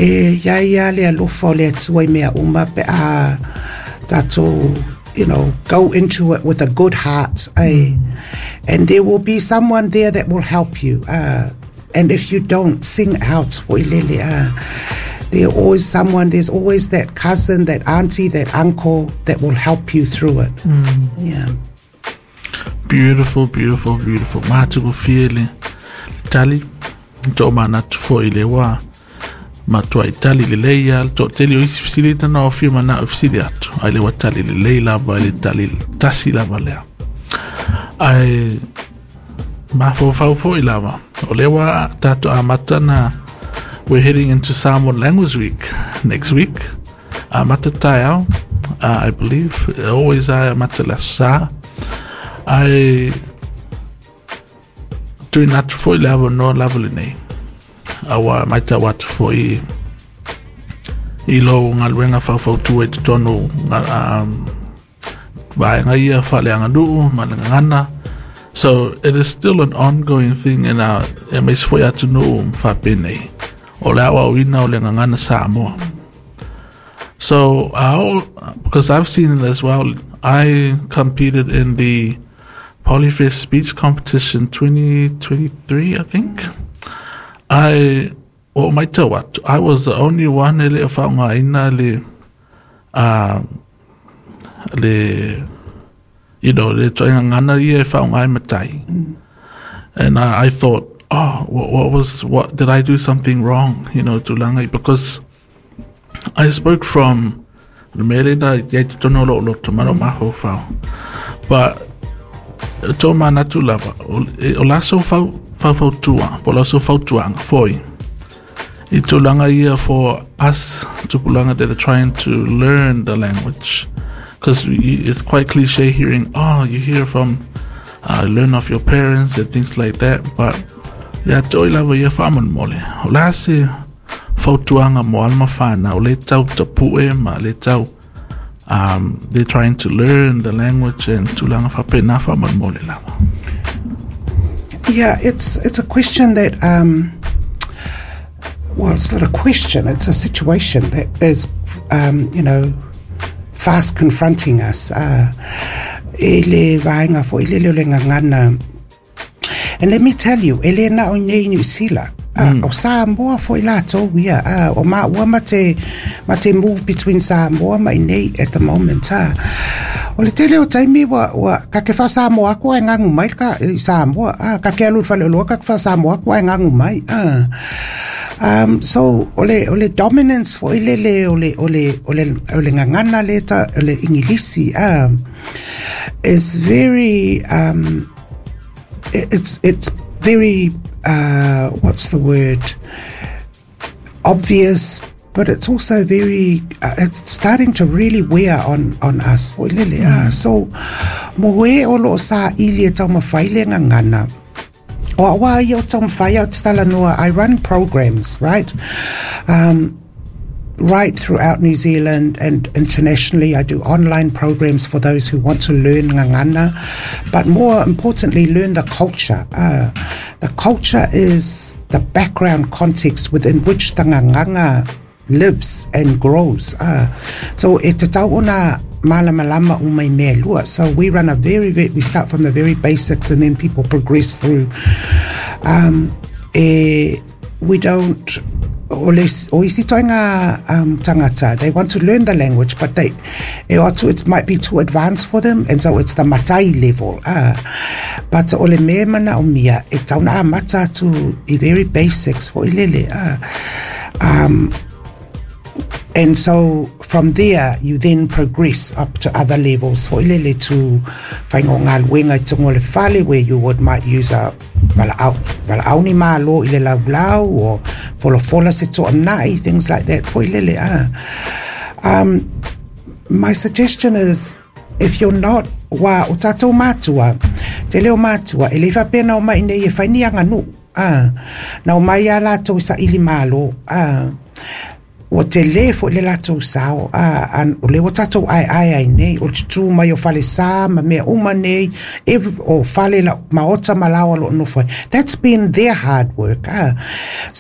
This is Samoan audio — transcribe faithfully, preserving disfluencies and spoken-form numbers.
E ia ia le alofa o le Atua i mea uma pe a tatou, you know, go into it with a good heart, eh? And there will be someone there that will help you. Uh, and if you don't, sing out for ilele. Uh, there always someone, there's always that cousin, that auntie, that uncle that will help you through it. Yeah. Beautiful, beautiful, beautiful. Matagofie le tali. To manatu foi le wā. Matua i tali lelei ia, le toatele o isi fesili na o fia manao e fesili atu. Ai le ua tali lelei lava i le tali tasi lava lea. Ai mafaufau foi lava. O lea ua tatou amata na we're heading into Samoan Language Week next week. Amata taeao, uh, I believe. Always ai amata le aso Sa. Ai tuuina atu foi le avanoa lava lenei. Aua matau atu foi i lou galuega faufautua i totonu um, vaega ia faaleaganuu ma le gagana. So it is still an ongoing thing in our e aemaise foi atunuu faapenei. O le aoaoina o le gagana Samoa. So uh, because I've seen it as well, I competed in the Polyfest speech competition twenty twenty-three, I think. I o matau atu, I was the only one e le o faaaogaina le uh, le you know le ituaiga gagana ia e faaaoga e matai. And I, I thought, "Oh, what, what was what did I do something wrong?" You know, tulaga, because I spoke from le mea lena i ai totonu o lou loto ma lou mafaufau. But tō manatu lava, o, o la so fau faufautua, po o la so fautuaga foi i tulaga ia for us tupulaga that are trying to learn the language. Because it's quite cliche hearing, "Oh, you hear from, uh, learn off your parents," and things like that. But ia te oi lava ia faamolemole. O le a se fautuaga mo alo ma fanau le tau tapue ma le tau um, they're trying to learn the language and tulaga faapena faamolemole lava? Yeah, it's it's a question that um, well, it's not a question. It's a situation that is, um, you know, fast confronting us. Uh, e le vaega foi le le gagana. And let me tell you, e le na o nei New Zealand. Uh, mm. O Samoa foi latou ia. Uh, o ma ua mate, mate move between Samoa ma nei at the moment. Uh. O le tele o taimi ua, ua ka ke wha Samoa ko e ngangu mai ka i Samoa. Ah, ka ke alu whale oloa ka ke wha ko e ngangu mai. Ah. Um, so o le, o le dominance foi le le o le, o le, o le, o le gagana le ta, o le Ingilisi um, is very um, it's it's very uh, what's the word, obvious, but it's also very uh, it's starting to really wear on on us foi lele mm. uh, so mo e o lo sa ili e taumafai le gagana o awa ia o taumafai au te talanoa. I run programs, right, um, right throughout New Zealand and internationally. I do online programs for those who want to learn gagana, but more importantly, learn the culture. Uh, the culture is the background context within which the gagana lives and grows. Uh, so e tatau ona malamalama uma i mea lua. So we run a very, very, we start from the very basics and then people progress through. Um, e, we don't o le o isi ituaiga um, tangata, they want to learn the language, but they e o atu it might be too advanced for them, and so it's the matai level, ah. But o le mea manaomia e tatau ona amata atu i very basics foi lele, ah. um, And so from there, you then progress up to other levels. Foi lele to whaingo galuega i tongo le fale where you would might use a valaau, valaau ni malo i le laulau or folafola se toanai, things like that. Foi lele, ah. Um, my suggestion is if you're not wa o tatou matua, te leo matua, e le faapea o mai nei e fai ni aganuu. Ah, na o mai a latou i saili malo. Ah, ua tele foi le latou sao a, a, o le ua tatou aeae ai nei o le tutū mai o falesa ma mea uma nei every, o fale la, maota ma laoa lo nofo ai. That's been their hard work, ah. So